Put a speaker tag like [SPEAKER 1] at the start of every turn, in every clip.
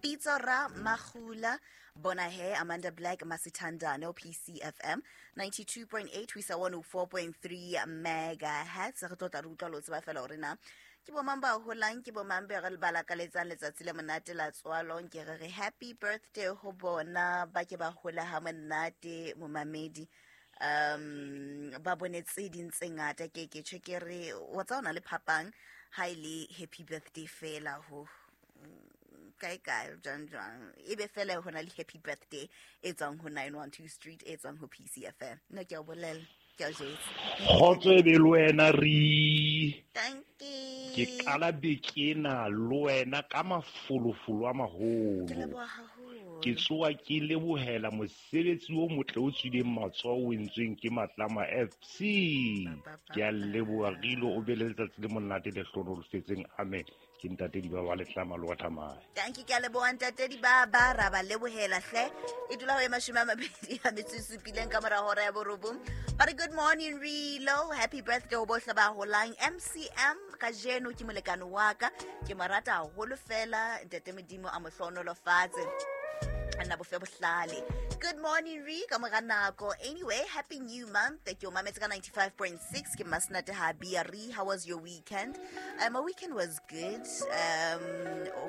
[SPEAKER 1] Pitso Ra Magula, bona he Amanda Black, Masithandane, PCFM 92.8 ho isa 104.3 megahertz. Re tlo tla re utlwa lo tseba fela hore na ke bo mang ba holang, ke bo mang be re ba lakaletsang letsatsi le monate la tswalo. Ke re re happy birthday ho bona, ba ke ba hola ha monate, momamedi. Ba bone tse ding tse ngata. Ke tjho ke re wa tsa ona le phapang ha e le happy birthday fela ho kae kae, jwang jwang, e be fela ho na le happy birthday e tswang ho 912 Street, e tswang ho PCFM. Nna ke a o bolela, ke a o jwetsa.
[SPEAKER 2] Kgotso e be le wena re.
[SPEAKER 1] Thank you.
[SPEAKER 2] Ke qala beke ena le wena ka mafolofolo a maholo.
[SPEAKER 1] Ke leboha haholo.
[SPEAKER 2] Ke tsoa ke lebohela mosebetsi o motle o tswileng matsoho o entsweng ke Matlama FC.
[SPEAKER 1] Ba, ba, ba,
[SPEAKER 2] Ke a leboha
[SPEAKER 1] ba.
[SPEAKER 2] Rilo, o be le letsatsi le monate le hlohonolofetseng. Amen. Ke ntate Dibaba wa Letlama le wa Thamaya.
[SPEAKER 1] Thank you, ke a leboha ntate Dibaba, ra ba lebohela hle. E dula ho e 27 ka mora hora ya 9. Ba re good morning Rilo, happy birthday ho bohle ba holang. MCM kajeno ke molekane wa ka, ke mo rata haholo fela, ntate Modimo a mo hlohonolofatse. Nna bofe bohlale. Good morning Re, ka mora nako. Anyway, happy new month. Ke o mametse ka 95.6, ke Masnate ha bia Re. How was your weekend? My weekend was good.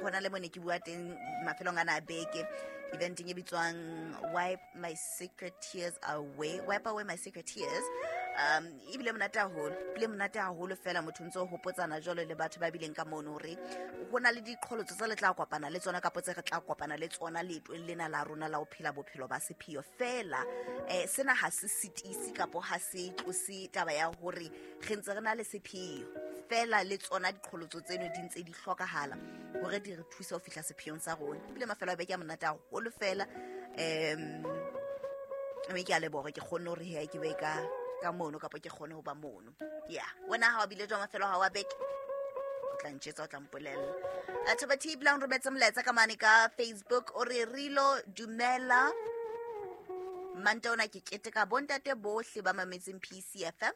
[SPEAKER 1] Hona le mone ke bua teng mafelong ana a beke. Eventeng e bitswang Wipe My Secret Tears Away. Wipe Away My Secret Tears. Ebile monate haholo, ebile monate haholo fela, motho ntse o hopotsana jwalo le batho ba bileng ka mono hore ho na le diqholotso tse le tla kopana le tsona, kapo tse re tla kopana le tsona leetong lena la rona la ho phela bophelo ba sepheo fela. Sena ha se sitise kapo ha se tlose taba ya hore re ntse re na le sepheo fela, le tsona diqholotso tseno di ntse di hlokahala hore di re thuse ho fihla sepheong sa rona. Ebile mafelo a beke a monate haholo fela. Mme ke a leboha hore ke kgonne hore he ke be ka mono, kapa ke kgone ho ba mono. Yeah, wena ha o bile jwang mafelo a hao a beke? O tla ntjhetsa, o tla mpolella. Thaba T Brown rometse molaetsa ka mane ka Facebook, o re Rilo dumela, Manta ona ke keteka bontate bohle ba mametseng PCFM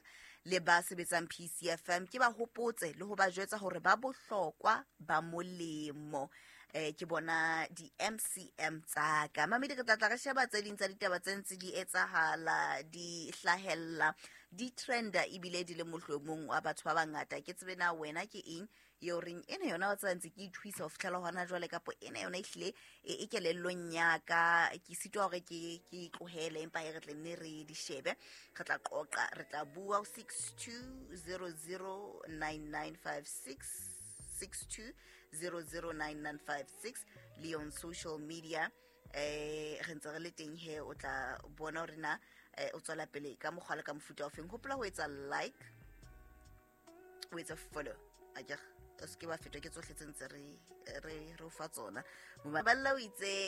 [SPEAKER 1] le ba sebetsang PCFM. Ke ba hopotse le ho ba jwetsa hore ba bohlokwa, ba molemo. Ke bona di MCM tsa ka. Mamedi, re tla tla re sheba tse ding tsa ditaba tse ntse di etsahala, di hlahella, di trenda ebile di le mohlomong wa batho ba bangata. Ke tsebe na wena ke eng eo reng ena yona wa tseba ntse ke ithuisa ho fihlela hona jwale, kapo ena yona ehlile e kelellong ya ka, ke sitwa hore ke tlohele, empa e re tle nne re di shebe. Re tla qoqa, re tla bua ho 62009956, 62009956 le on social media. Re ntse re le teng he, o tla bona hore na o tswela pele ka mokgwa le ka mofuta o feng. Hopola ho etsa like, o etsa follow, akere o se ke wa fetwa ke tsohle tse ntse re o fa tsona. Balla o itse